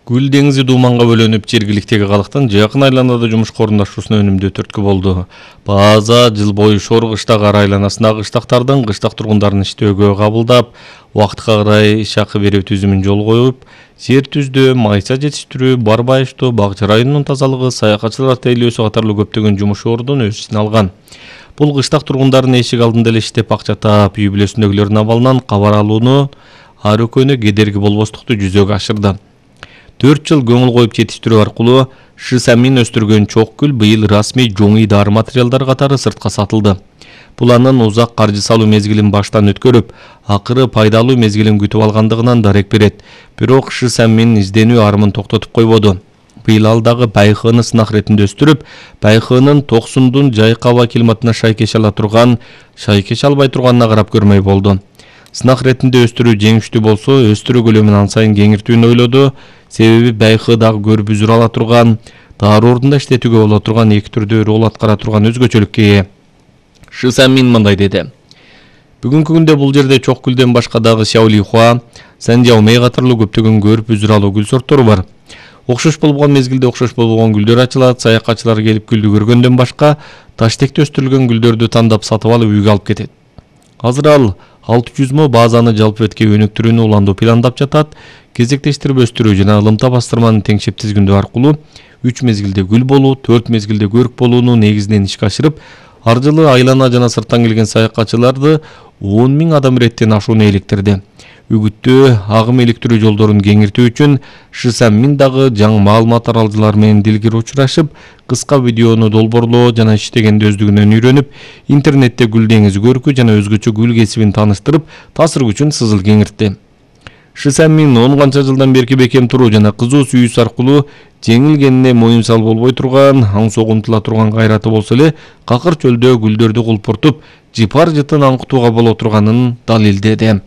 Гүл деңизи дууманга бөлөнүп, жергиликтеги калктын жакын айланада жумушка орундашуусуна өнүмдүү түрткү болду. База жыл бою шор кыштак ар айланасындагы кыштактардын кыштак тургундарын иштөөгө кабылдап, убакытка карай иш акы берүү түзүмүн жолго коюп, жер түздөө, майса жетиштирүү, барбайыштоо, бак-ча районунун тазалыгы, саякатчылар тейлөөсү катарлуу көптөгөн жумуш ордун өз ичине алган. Бул кыштак тургундарын эшик алдында эле иштеп акча таап, үй бүлөсүндөгүлөрдүн абалынан кабар алууну, ар экөөнө кедерги болбостукту жүзөгө ашырды. 4 жыл көңүл коюп жетиштирүү аркылуу Шысамин өстүргөн чок гүл быйыл расмий жоңуй дары материалдар катары сыртка сатылды. Бул анын узак каржы салуу мезгилин баштан өткөрүп, акыры пайдалуу мезгилин күтүп алгандыгынан дарек берет. Бирок Шысамин изденүү армын токтотуп койбоду. Быйыл ал дагы байхыны сынак ретинде өстүрүп, байхынын токсундун жайкы аба климатына шайкеш албай турганына карап көрмөй болду. Сынак ретинде өстүрүү жеңиштүү болсо, өстүрүү көлөмүн ан сайын кеңиртүүнү ойлоду. Себеби байхы дагы көрүп үзүр ала турган, дары ордунда иштетүүгө боло турган эки түрдүү роль аткара турган өзгөчөлүккө ээ. Шысамин мындай деди. Бүгүнкү күндө бул жерде чок гүлдөн башка дагы Сяолихуа, Сэнжаомей катарлуу көптөгөн көрүп үзүр алуу гүл сорттору бар. Окшош болгон мезгилде окшош болгон гүлдөр ачылат, саякатчылар келип гүлдү көргөндөн башка таштекте өстүрүлгөн гүлдөрдү тандап сатып алып үйгө алып кетет. Азыр ал 600 мо базаны жалпы бетке өнүктүрүүнү уландуу пландап жатат. Кезектештирип өстүрүү жана ылымта бастырманын теңшеп тизгиндөө аркылуу 3 мезгилде гүл болуу, 4 мезгилде көрүк болууну негизинен ишке ашырып, ар жылы айлана жана сырттан келген саякатчыларды 10 000 адам иреттен ашууну иликтирди. Үгүттөө, агым иликтирүү жолдорун кеңиртүү үчүн Шысамин дагы жаңы маалымат аралжылар менен дилгири учурашып, кыска видеону долбоорлоо жана иштегенди өздүгүнөн үйрөнүп, интернетте гүл деңизи көркү жана өзгөчө гүл кесибин тааныштырып, таасир күчүн сызыл кеңиртти. Шысамин 10 канча жылдан берки бекем туруу жана кызуу сүйүүсү аркылуу жеңилгенине моюнсал болбой турган, аң согумтула турган кайраты болсо эле, какыр чөлдө гүлдөрдү кулпуртуп, жыпар жытын аңкытууга боло турганын далилдеди.